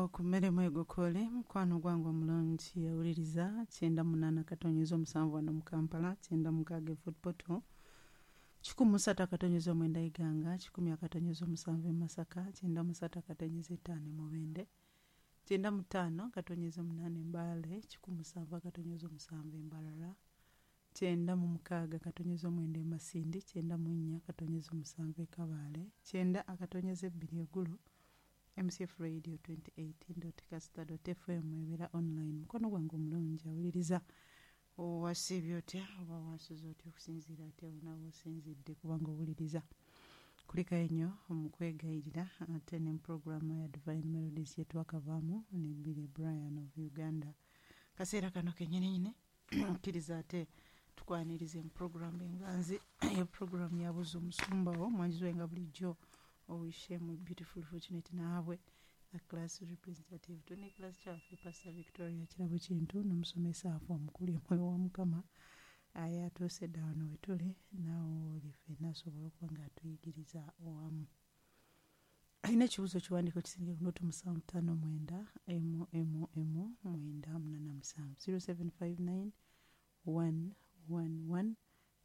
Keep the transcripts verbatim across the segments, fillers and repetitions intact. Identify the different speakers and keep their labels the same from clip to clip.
Speaker 1: Awo ku mmere mwegokole mukwano gwange omulungi yawuliriza kyenda munaana katonyeza omusanvu wano mu Kampala, kyenda mukaaga e Fort Portal, kikumi mu ssatu akatonyeza omwenda Iganga, kikumi akatonyeza omusanvu e Masaka, kyenda mu ssatu akatonyeza etaano e Mubende, kyenda mu ttaano akatonyeza omunaana e Mbale, kikumi musanvu akatonyeza omusanvu e Mbarara, kyenda mu mukaaga akatonyeza omwenda e Masindi, kyenda mu nnya akatonyeza omusanvu e Kabale, kyenda akatonyeza ebbiri e Gulu. M C F Radio twenty eighteen dot caster dot f m ebeera online. Mukwano gwange omulungi awuliriza, owasiibye otya oba wasuze otya okusinziira ate onaaba osinzidde kubanga owuliriza. Kulikayo nnyo mu kwegayirira ate ne puroguramu ya Divine Melodies gye twakavaamu ne Billy Brian of Uganda. Kaseera kano kennyini nnyini kkiriza ate tukwanirize mu puroguramu enganzi eyo puroguramu ya Buuza Omusumba wo mwanjizwe nga bulijjo Owishemu Beautiful Fortunate naabwe the class representative tune class kyaffe Pastor Victoria Kirabo Kintu n'omusomesa afe omukulu omwoyo wa Mukama aye atuuse dda wano we tuli naawe oli ffenna asobola okuba ng'atuyigiriza owamu. Alina ekibuuzo kiwandiiko kisinga ku nooti musanvu ttaano mwenda emu emu emu mwenda munaana musanvu zero seven five nine one one one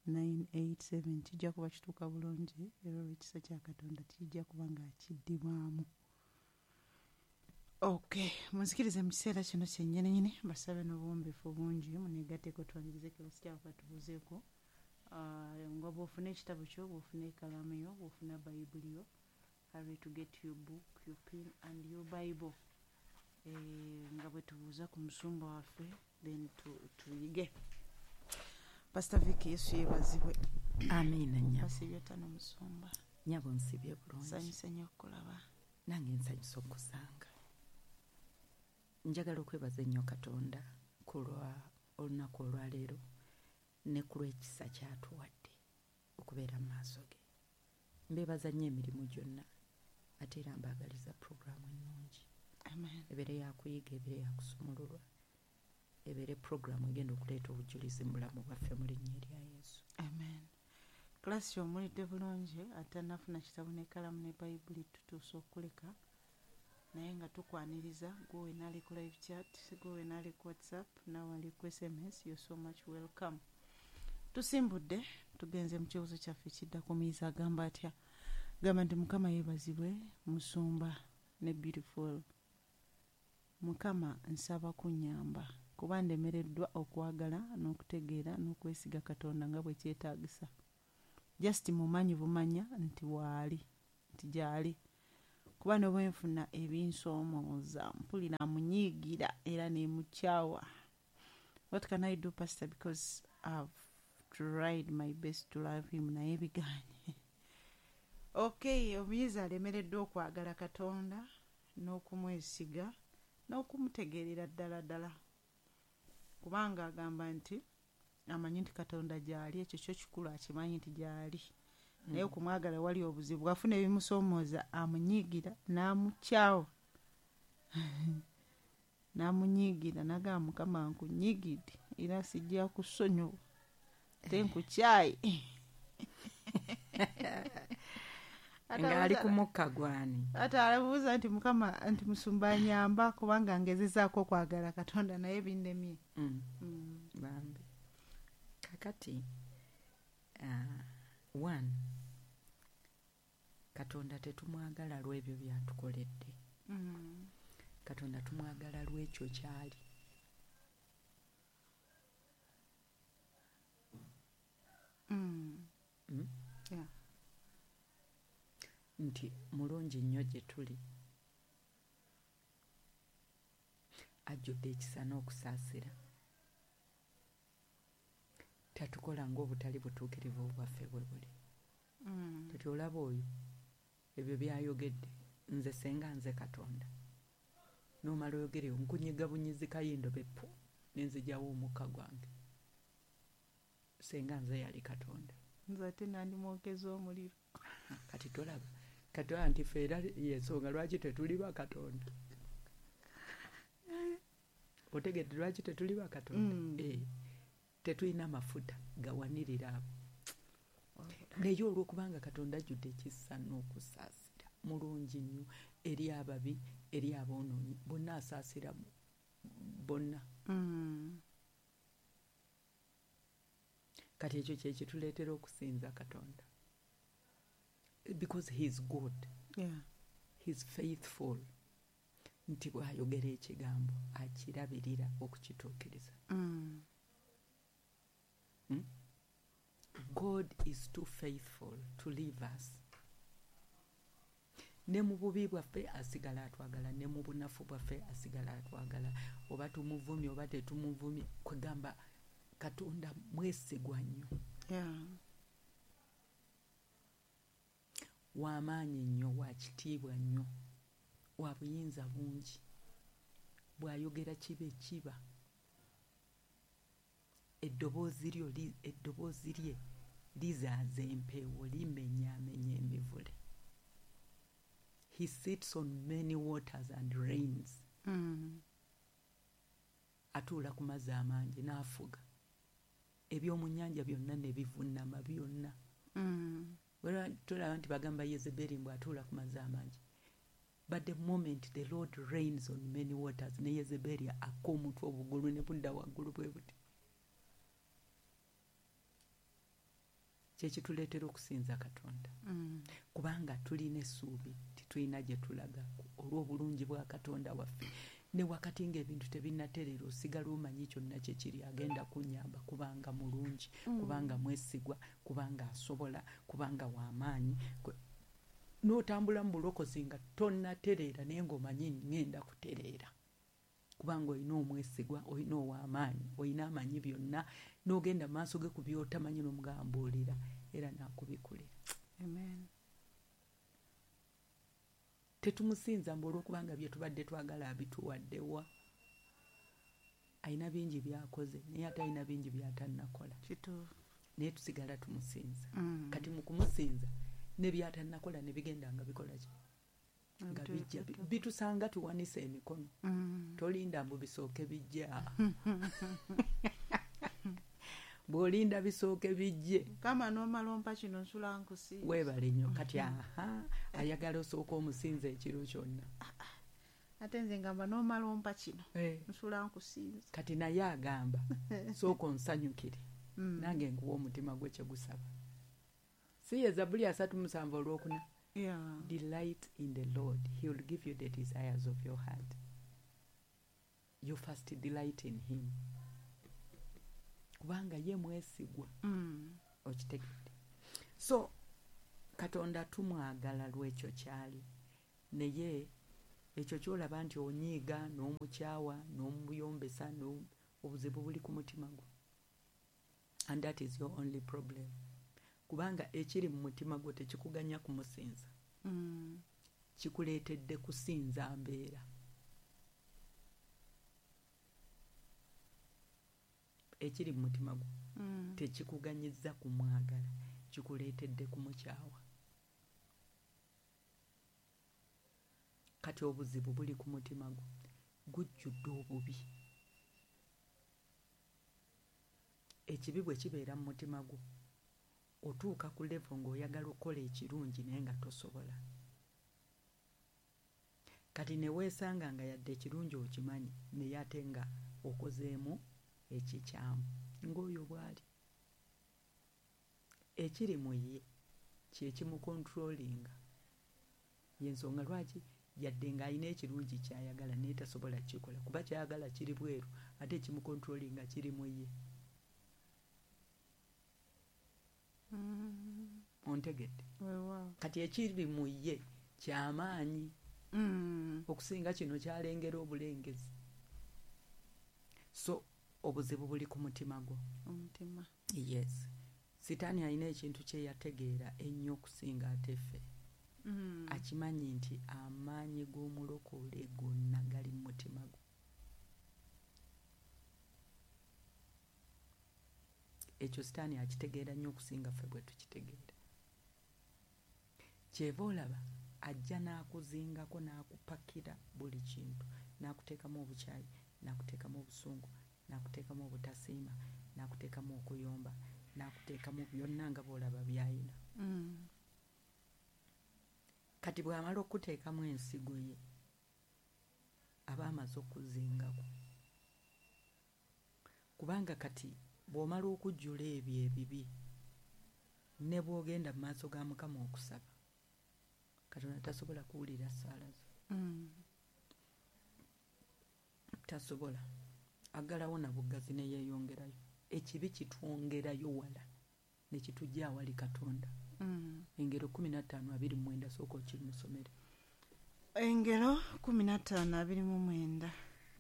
Speaker 1: nine eight seven kijja kuba kituuka bulungi era olw'ekisa kya Katonda kijja kuba nga kiddibwamu. Okay, munzikirize mu kiseera kino kyennyininyini mbasabe n'obuwombeefu bungi muneegatteko twanirize kilasi kyaffe tubuuzeeko. Uh, nga bw'ofuna ekitabo kyo, bw'ofuna ekkalaamu yo, bw'ofuna Bayibuli yo, hurry to get your book, your pen and your Bible. Eh, nga bwe tubuuza ku musumba waffe then tuyige. Pastor Vicky, Yesu yeebazibwe.
Speaker 2: Amiina nnyabo.
Speaker 1: Basiibye otya n'omusumba?
Speaker 2: Nnyabo nsibye bulungi.
Speaker 1: Nsanyuse nnyo okukulaba.
Speaker 2: Nange nsanyuse okusanga. Njagala okwebaza ennyo Katonda ku lwa olunaku olwaleero ne ku lw'ekisa ky'atuwadde okubeera mu maaso ge. Mbeebaza nnyo emirimu gyonna ate era mbaagaliza puroguraamu ennungi.
Speaker 1: Amen.
Speaker 2: Ebeere yakuyiga, ebeere yakusumululwa, ebeere puroguraamu egenda okuleeta obujulizi mu bulamu bwaffe mu linnya erya Yesu.
Speaker 1: Amen. Kilasi omulidde bulungi atannafuna kitabo n'ekkalaamu ne Bayibuli tutuuse okuleka naye nga tukwaniriza gwe wenna ali ku live chat, gwe wenna ali ku WhatsApp, naawe ali ku S M S, you're so much welcome. Tusimbudde tugenze mu kibuuzo kyaffe kiddako. Muyizi agamba atya? Gamba nti Mukama yeebazibwe musumba ne Beautiful. Mukama nsaba kunnyamba kuba ndemereddwa okwagala n'okutegeera n'okwesiga Katonda nga bwe kyetaagisa. Just mumanyi bumanya nti waali, nti gy'ali. Kuba ne bwe nfuna ebinsoomooza mpulira munyiigira era ne mukyawa. What can I do, Pastor, because I've tried my best to love him naye bigaanye. Okay, omuyizi alemereddwa okwagala Katonda n'okumwesiga n'okumutegeerera ddala ddala kubanga agamba nti amanyi nti Katonda gy'ali, ekyo kyo kikulu akimanyi nti gy'ali. Naye okumwagala wali obuzibu, bw'afuna ebimusoomooza amunyiigira n'amukyawa n'amunyiigira n'agamba Mukama nkunyiigidde era sijja kusonyiwa ate nkukyaye.
Speaker 2: Ng'ali ku mukka gwani.
Speaker 1: Ate alabuuza nti Mukama nti musumba nnyamba kubanga ngezezaako okwagala Katonda naye binnemye.
Speaker 2: Mm. Mm. Bambi. Kakati uh, one, Katonda tetumwagala lw'ebyo by'atukoledde.
Speaker 1: Mm.
Speaker 2: Katonda tumwagala lw'ekyo ky'ali.
Speaker 1: Mm.
Speaker 2: Mm?
Speaker 1: Yeah.
Speaker 2: Nti mulungi nnyo gye tuli, ajjudde ekisa n'okusaasira, tatukola ng'obutali butuukirivu bwaffe bwe buli.
Speaker 1: Mm.
Speaker 2: Kati olaba oyo ebyo by'ayogedde, nze senga nze Katonda n'omala oyogere nkunyiga bunyizi kayindo beppu ne nzigyawo omukka gwange, senga nze yali Katonda,
Speaker 1: nze ate nandimwokeza omuliro.
Speaker 2: Kati tolaba kati olaba nti ffe era y'ensonga lwaki tetuli ba Katonda. Otegedde lwaki tetuli ba Katonda?
Speaker 1: Mm.
Speaker 2: Eh, tetulina mafuta gawanirira abo. Naye olw'okubanga Katonda ajjudde ekisa n'okusaasira mulungi nnyo, eri ababi, eri aboonoonyi, bonna asaasira bonna.
Speaker 1: Mm.
Speaker 2: Kati ekyo kye kituleetera okusinza Katonda, because he is good.
Speaker 1: Yeah.
Speaker 2: He is faithful, nti bw'ayogera ekigambo akirabirira okukituukiriza.
Speaker 1: Mm.
Speaker 2: Hmm? God is too faithful to leave us. Ne mu bubi bwaffe asigala atwagala, ne mu bunafu bwaffe asigala atwagala, oba tumuvumye oba tetumuvumye, kwegamba Katonda mwesigwa nnyo.
Speaker 1: Yeah.
Speaker 2: W'amaanyi nnyo, wa kitiibwa nnyo, wa buyinza bungi, bw'ayogera kibe kiba. Eddoboozi lyo eddoboozi lye lizaaza empeewo, limenyaamenya emivule. He sits on many waters and reigns.
Speaker 1: Mm.
Speaker 2: Atuula ku mazzi amangi n'afuga. Eby'omu nnyanja byonna ne bivunnama byonna.
Speaker 1: Mm.
Speaker 2: Tulaba nti bagamba Yezeberi mbu atuula ku mazzi amangi. But the moment the Lord reigns on many waters, ne Yezeberi akka omutwe obugulu ne budda waggulu bwe buti. Kyekituleetera okusinza Katonda.
Speaker 1: Mm.
Speaker 2: Kubanga tulina essuubi, titulina gye tulaga olw'obulungi bwa Katonda waffe. Ne wakati ng'ebintu tebinnatereera, osigala omanyi kyonna kye kiri, agenda kunnyamba kubanga mulungi,
Speaker 1: Mm.
Speaker 2: kubanga mwesigwa, kubanga asobola, kubanga w'amaanyi. N'otambula mu bulokozi nga tonnatereera, naye ng'omanyi ŋŋenda kutereera, kubanga olina omwesigwa, olina ow'amaanyi, olina amanyi byonna, n'ogenda mu maaso ge ku by'otamanyi n'omugamba mbuulira, era n'akubikulira.
Speaker 1: Amen.
Speaker 2: Tetumusinza mbu olw'okubanga bye tubadde twagala abituwadde wa. Alina bingi by'akoze, naye ate alina bingi by'atannakola.
Speaker 1: Kituufu.
Speaker 2: Naye tusigala tumusinza.
Speaker 1: Mm.
Speaker 2: Kati mu kumusinza ne by'atannakola ne bigenda nga bikola ki? Nga bijja, bitusanga tuwanise emikono.
Speaker 1: Mm.
Speaker 2: Tolinda mbu bisooke bijja. Bw'olinda bisooke bijje.
Speaker 1: Kama n'omala ompa kino nsula nkusinza.
Speaker 2: Weebale nnyo. Kati aha, ayagala osooke omusinza ekiro kyonna.
Speaker 1: Ate nze ngamba n'omala ompa kino
Speaker 2: Eh.
Speaker 1: nsula nkusinza.
Speaker 2: Kati naye agamba sooka onsanyukire,
Speaker 1: Mm.
Speaker 2: nange nkuwa omutima gwe kye gusaba. Si ye Zabbuli asatu musanvu olwokuna.
Speaker 1: Yeah.
Speaker 2: Delight in the Lord, he will give you the desires of your heart. You first delight in him. Kubanga ye mwesigwa.
Speaker 1: Mm.
Speaker 2: Okitegedde. So Katonda tumwagala lw'ekyo kyali, naye ekyo ky'olaba nti onyiiga n'omukyawa n'omuyombesa, obuzibu buli ku mutima gwo. And that is your only problem. Kubanga ekiri mu mutima gwo tekikuganya kumusinza.
Speaker 1: Mm.
Speaker 2: Kikuleetedde kusinza mbeera. Ekiri mu mutima gwo
Speaker 1: Mm.
Speaker 2: tekikuganyizza kumwagala, kikuleetedde kumukyawa. Kati obuzibu buli ku mutima gwo, gujjudde obubi. Ekibi bwe kibeera mu mutima gwo, otuuka ku level ng'oyagala okukola ekirungi naye nga tosobola. Kati ne weesanga nga yadde ekirungi okimanyi, naye ate nga okozeemu ekikyamu, ng'oyo bw'ali. Ekiri mu ye kye kimukontrolinga. Y'ensonga lwaki yadde ng'alina ekirungi ky'ayagala naye tasobola kukikola, kuba ky'ayagala kiri bweru, ate ekimukontrolinga kiri mu ye.
Speaker 1: Mm.
Speaker 2: Ontegedde?
Speaker 1: Weewaawo.
Speaker 2: Kati ekiri mu ye ky'amaanyi
Speaker 1: Mm.
Speaker 2: okusinga kino ky'alengera obulengezi. So obuzibu buli ku mutima gwo.
Speaker 1: Omutima.
Speaker 2: Yes. Sitaani alina ekintu kye yategeera ennyo okusinga ate ffe.
Speaker 1: Mm.
Speaker 2: Akimanyi nti amaanyi g'omulokole gonna gali mu mutima gwo. Ekyo Sitaani akitegeera nnyo okusinga ffe bwe tukitegeera. Kyeva olaba ajja n'akuzingako n'akupakira buli kintu, n'akuteekamu obukyayi, n'akuteekamu obusungu, n'akuteekamu obutasiima, n'akuteekamu okuyomba, n'akuteekamu byonna nga bw'olaba by'ayina.
Speaker 1: Mm.
Speaker 2: Kati bw'amala okuteekamu ensigo ye aba amaze okuzingako, kubanga kati bw'omala okujjula ebyo ebibi ne bw'ogenda mu maaso ga Mukama okusaba, Katonda tasobola kuwulira ssaala zo.
Speaker 1: Mm.
Speaker 2: Tasobola, aggalawo na buggazi ne yeeyongerayo. Ekibi kitwongerayo wala ne kitujja awali Katonda.
Speaker 1: Mm.
Speaker 2: Engero kumi na ttaano abiri mu mwenda, sooka okimusomere.
Speaker 1: Engero kumi na ttaano abiri mu mwenda.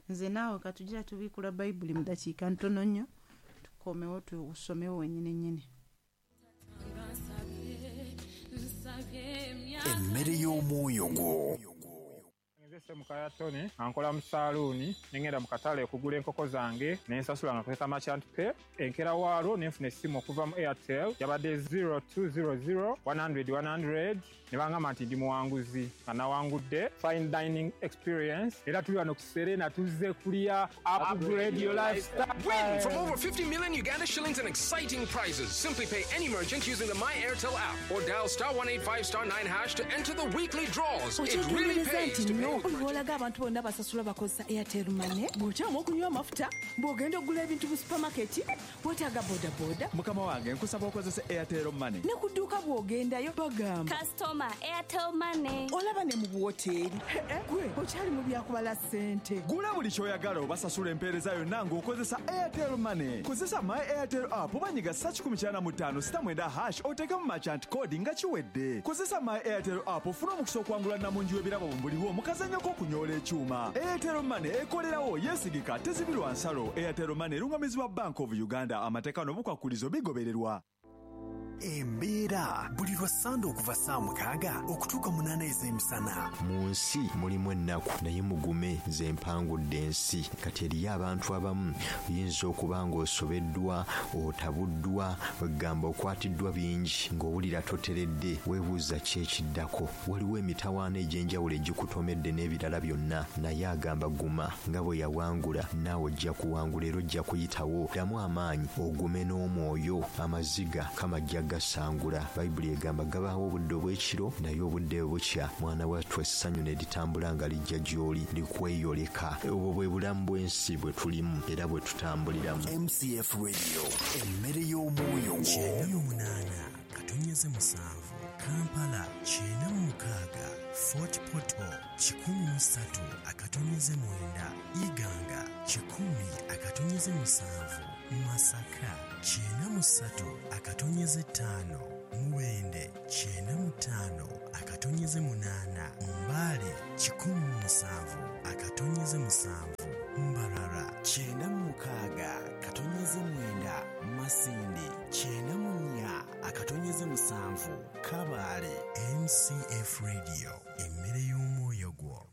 Speaker 1: Nze naawe katugira tubiikula Bayibuli mu dakiika ntono nnyo, tukomewo tusomewo wennyini nnyini.
Speaker 3: Emmere y'omwoyo gwo.
Speaker 4: Nze Semukaya Tony, ankola mu saaluuni, ne ngenda mu katale okugula enkoko zange, ne nsasula nga nkozesa Merchant Pay. Enkeera waalwo ne nfuna essimu okuva mu Airtel, yabadde zero two zero zero one hundred one hundred, ne bangamba nti ndi muwanguzi, nga nawangudde fine dining experience. Era tuli wano ku Serena tuzze kulya upgrade your lifestyle.
Speaker 5: Win from over fifty million Uganda shillings and exciting prizes. Simply pay any merchant using the My Airtel app or dial star one eight five star nine hash to enter the weekly draws. It really pays to pay.
Speaker 6: Bw'olaga abantu bonna basasula bakozesa Airtel Money, bw'okyama okunywa amafuta, bw'ogenda okugula ebintu mu supermarket, weetaaga bodaboda.
Speaker 7: Mukama wange nkusaba okozese Airtel Money.
Speaker 6: Ne ku dduuka bw'ogendayo bagamba
Speaker 8: Customer Airtel Money.
Speaker 6: Olaba ne mu buwoteeri. Gwe okyali mu byakubala ssente.
Speaker 7: Gula buli ky'oyagala obasasula empeereza yonna ng'okozesa Airtel Money. Kozesa My Airtel app oba nyiga ssa kikumi kyana mu ttaano sita mwenda hash oteekemu merchant code nga kiwedde. Kozesa My Airtel app ofune omukisa okuwangula nnamungi w'ebirabo mu buliwo mu kazannyo k'okunyoola ekyuma. Airtel Money ekolerawo, yeesigika, tezibirwa nsalo. Airtel Money erungamizibwa Bank of Uganda. Amateeka n'obukwakulizo bigobererwa.
Speaker 3: Embeera buli lwa Ssande okuva ssaawa mukaaga okutuuka munaana ez'emisana.
Speaker 9: Mu nsi mulimu ennaku, naye mugume, nze mpangudde ensi. Kati eriyo abantu abamu oyinza okuba ng'osobeddwa, otabuddwa, ogamba okwatiddwa bingi, ng'owulira toteredde, weebuuza ki ekiddako. Waliwo emitawaana egy'enjawulo egikutomedde n'ebirala byonna, naye agamba guma, nga bwe yawangula naawe ojja kuwangula era ojja kuyitawo. Ddamu amaanyi, ogume n'omwoyo, amaziga kamajja gasangula. Bayibuli egamba gabaawo obudde obw'ekiro, naye obudde bukya. Mwana wattu essanyu ne litambula nga lijja gy'oli, likweyoleka. Obwo bwe bulamu bw'ensi bwe tulimu era bwe tutambuliramu.
Speaker 3: M C F Radio, emmere y'omwoyo gwo.
Speaker 10: Kyenda mu munaana katonyeze musanvu, Kampala kyenda mu mukaaga, Fort Portal kikumi mu ssatu akatonyeze mwenda, Iganga kikumi akatonyeze musanvu, Masaka kyenda mu ssatu akatonyeze ttaano, Mubende kyenda mu ttaano akatonyeze munaana, Mbale kikumi mu musanvu akatonyeze musanvu, Mbarara
Speaker 11: kyenda mu mukaaga katonyeze mwenda, Masindi kyenda mu nnya akatonyeze musanvu, Kabale.
Speaker 10: M C F Radio, emmere y'omwoyo gwo.